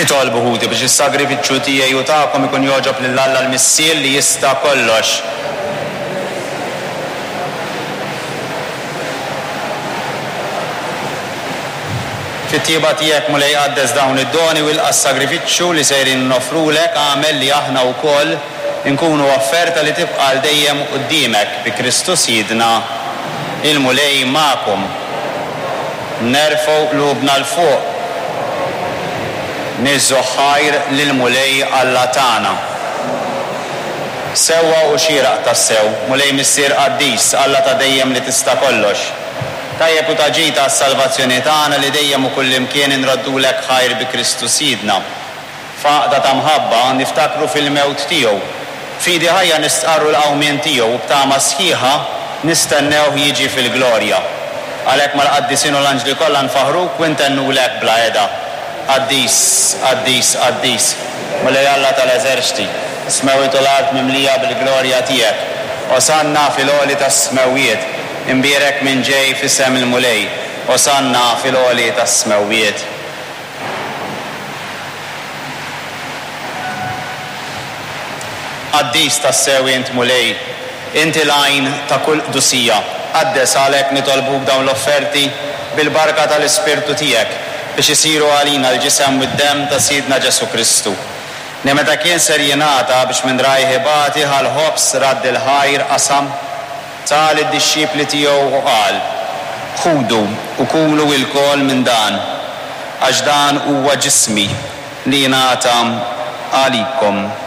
Itolbu ħuti biex is-sagrifiċċju tiegħi u tagħkom ikun jogħġob lil Alla l-Missier li jista' kollox. Fit-tjieba tiegħek, Mulej, qaddes dawn id-doni u ilqa' s-sagrifiċċju li sejrin noffrulek, agħmel li aħna wkoll inkunu offerta li tibqa' għal dejjem quddiemek, bi Kristu Sidna. Il-Mulej magħkom. Nerfgħu qlubna 'l fuq. Niżżu ħajr lill-Mulej Alla tagħna. Sewwa u xieraq tassew, Mulej Missier qaddis, Alla ta' dejjem li tista' kollox. Tajjeb u ta' ġid għas-salvazzjoni tagħna li dejjem u kullimkien inroddulek ħajr bi Kristu Sidna. F'għaqda ta' mħabba niftakru fil-mewt tiegħu. B'fidi ħajja nistqarru l-qawmien tiegħu u b'tama sħiħa nistennewh jiġi fil-glorja. Għalhekk mal-qaddisin u l-anġli kollha nfaħħruk u ntennulek bla heda, Qaddis, qaddis, qaddis, Mulej Alla tal-eżerċti, is-smewwiet u l-art mimlija bil-glorja tiegħek. Osanna fil-għoli tas-smewwiet. Imbierek min ġej f'isem il-Mulej. Osanna fil-għoli tas-smewwiet. Qaddis tassew int, Mulej, inti l-għajn ta' kull qdusija. Qaddes għalhekk nitolbuk dawn l-offerti bil-barka tal-Ispirtu tiegħek, biex isiru għalina l-ġisem u d-demm ta' Sidna Ġesù Kristu, li meta kien ser jingħata biex minn rajh ibati ħa l-ħobż, radd il-ħajr, qasam, Ta lid-dixxipli tiegħu u qal, Ħudu u kulu ilkoll minn dan, għax dan huwa ġismi li jingħata għalikom.